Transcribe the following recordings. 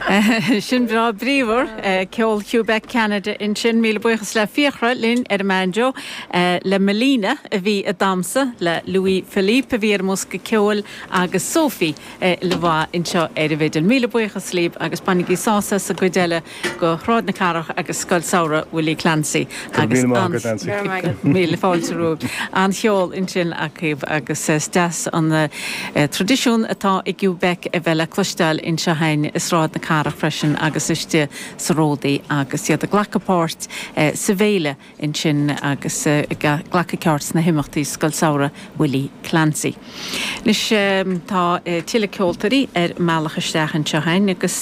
Sin breá bríomhar, ceol Quebec Ceanada ansin. Míle buíochas le Fiachra linn ar an mbanjo, le Melina a bhí ag damhsa, le Louis Philippe a bhí ar an mbosca ceoil agus Sophie le bheith anseo ar an bhfidil. Míle buíochas libh agus bainigí sásamh as an gcuid eile de Shráid na Cathrach agus Scoil Samhraidh Willie Clancy agus míle fáilte romhaibh. An-cheol ansin agaibh agus is deas an traidisiún atá i gCuebec a bheith le cloisteáil anseo againn i Sráid na Cathrach freisin agus istigh sa Ródaí agus iad ag glacadh páirt sa bhféile ansin agus ag glacadh páirt sna himeachtaí Scoil Samhraidh Willie Clancy. Anois tá tuilleadh ceoltóirí ar a mbealach isteach anseo againn agus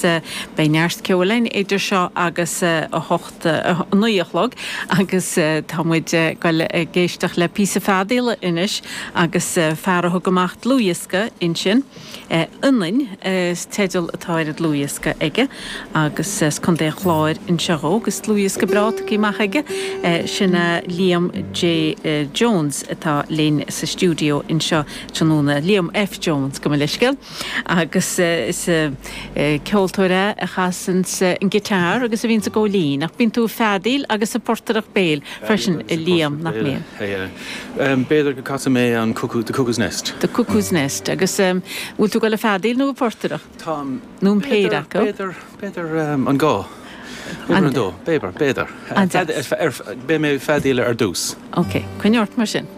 beidh neart ceoil againn idir seo agus a hocht, a naoi a chlog agus tá muid ag goil ag éisteacht le píosa feadaíola anois agus fear a thug amach dlúthdhiosca ansin. Ionainn is teideal atá ar an dlúthdhiosca aige agus as Contae an Chláir anseo dhó agus dlúthdhiosca breá tugtha amach aige. Sin é Liam J Jones atá linn sa stiúideo anseo tráthnóna. Liam F Jones, gabh mo leithscéal. Agus is ceoltóir é a chasanns an guitar agus a bhíonns ag gabháil fhoinn. Ach bíonn tú ag feadaíl agus ag portaireacht béil freisin, a Liam, nach mbíonn? B'fhéidir go gcasfaidh mé an Cuckoo, The Cuckoo's Nest. The Cuckoo's Nest. Agus bhfuil tú ag dul ag feadaíl nó ag portaireacht? Táim. Nó an péire acu? B'fhéidir, b'fhéidir an dhá. B'fhéidir an dó. B'fhéidir, b'fhéidir. Beidh mé ag feadaíl ar dtús. Ok, coinnigh ort mar sin.